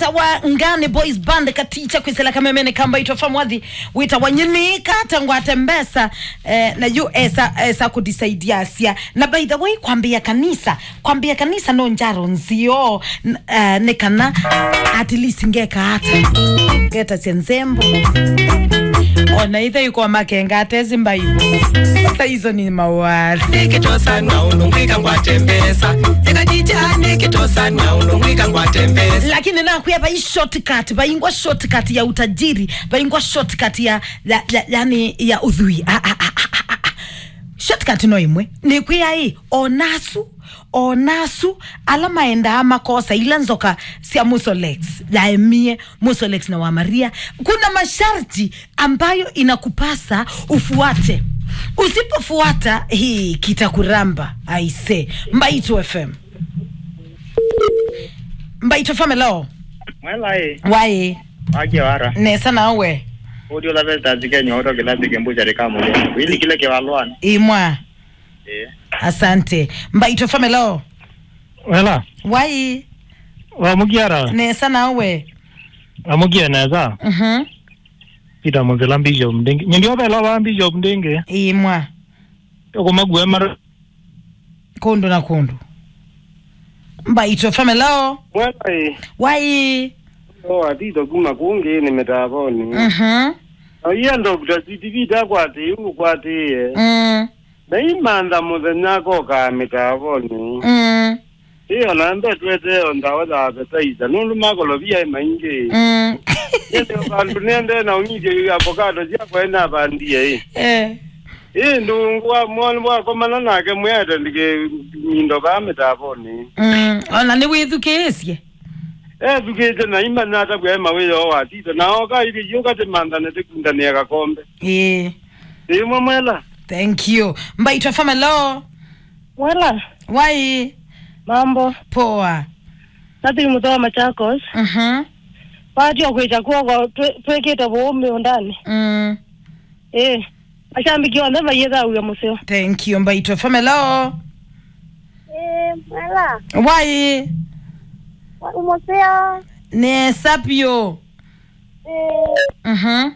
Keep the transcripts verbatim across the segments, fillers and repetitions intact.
Tawa Ngani Boys Band katicha kwisela kamemene ka Mbaitũ F M wathi wĩtawa Nyini kata ngwate mbesa, eh, na yu esa, esa kudisaidiasya. Na by the way, kwambia kanisa, kwambia kanisa no njaro nzio, n- eh, nĩ kana at least ngeka ata. Ngeta cia nzembo. Ona ithe yuko makenga atezi mbaibu. Sasa hizo ni mawari. Nĩkĩtosa na ũndũ ngwĩka ngwate mbesa. Eka chicha nĩkĩtosa na ũndũ ngwĩka ngwate mbesa. Lakini nakwĩa vai shortcut, vaingwa shortcut ya utajiri, vaingwa shortcut ya, ya, ya, yani ya ũthwii. Ah, ah, ah, ah, ah, ah. Shortcut no ĩmwe. Nĩkwĩa ĩ, onasu, onasu, ala maendaa makosa ila nzoka sya Musolex, yaemie Musolex na Wamaria. Kuna masharti ambayo inakupasa ufuate. Usipofuata, hii kitakuramba, aise. Mbaitũ F M. Mbaitũ F M, hello. Mwela ĩ. Waĩ. Wakia wara. Nesa nawe. Ũthi ũla Festus Kenya ũto kĩla thĩke mbucarĩ ka mũthĩ. Wĩlikile kĩvalũanĩ. Imwa. Ĩĩ. Asante. Mbaitũ F M, hello. Wela. Waĩ. Wamũkia ata? Nesa nawe. Amũkie nesa. Mhm. Peter Mũsila Bishop Ndingi. Nyindi ovela wa Bishop Ndingi. Imwa. Ũkũmakua mara. Kũndũ na kũndũ. Mbaitũ F M, hello. Mwela ĩ. Waĩ. O atito kuma kũngĩ nĩ mĩtavonĩ. Mhm. Na iye Doctor C T V takwatĩĩ ũkwatĩĩe. Mm. Na imantha mũthenya akokaa mĩtavonĩ. Mm. Ĩyo na mbetweteo ndawa ya appetizer nũndũ makolovia ĩ maingĩ. Mm. Nĩende vandũ nĩende na ũnyithyo yu avocado syakwa ĩnavandie ĩ. Eh. Ĩ ndũngũ wa mwana wakomana nake mwĩete ndike mindo vaa mĩtavonĩ. Mm. Ona nĩwĩthukĩĩsye. Ethukĩte na imanya atavw'a e mawĩoo watita na oka ithi yũka tĩmanthane tĩkundanĩe kakombe. Ĩĩ. Ĩmwe mwela. Thank you. Mbaitũ F M, hello. Mwela. Waĩ. Mambo. Poa. Nathi mũthe wa Machakos. Mhm. Watia kwĩkya kwoko twĩ- twĩkĩte vũũ mĩũndanĩ. Mm. Ĩĩ. Mashabiki onthe mayĩthaw'a mũseo. Thank you, Mbaitũ F M, hello. Ĩĩ, mwela. Waĩ. Wa- mũseo. Nesa vyũ. Ĩĩ. Mhm.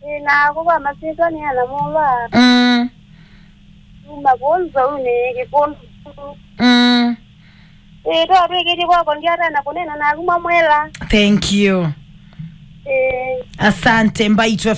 Ĩĩ, na kũva masitwa nĩ ana mũva. Mm. Kuma kũu nzounĩ kĩkũndũ. Mm. Ĩĩ, twatwĩkĩtye kwako ndiatana kũnena naku mamwela. Thank you. Ĩĩ. Asante, Mbaitũ F M.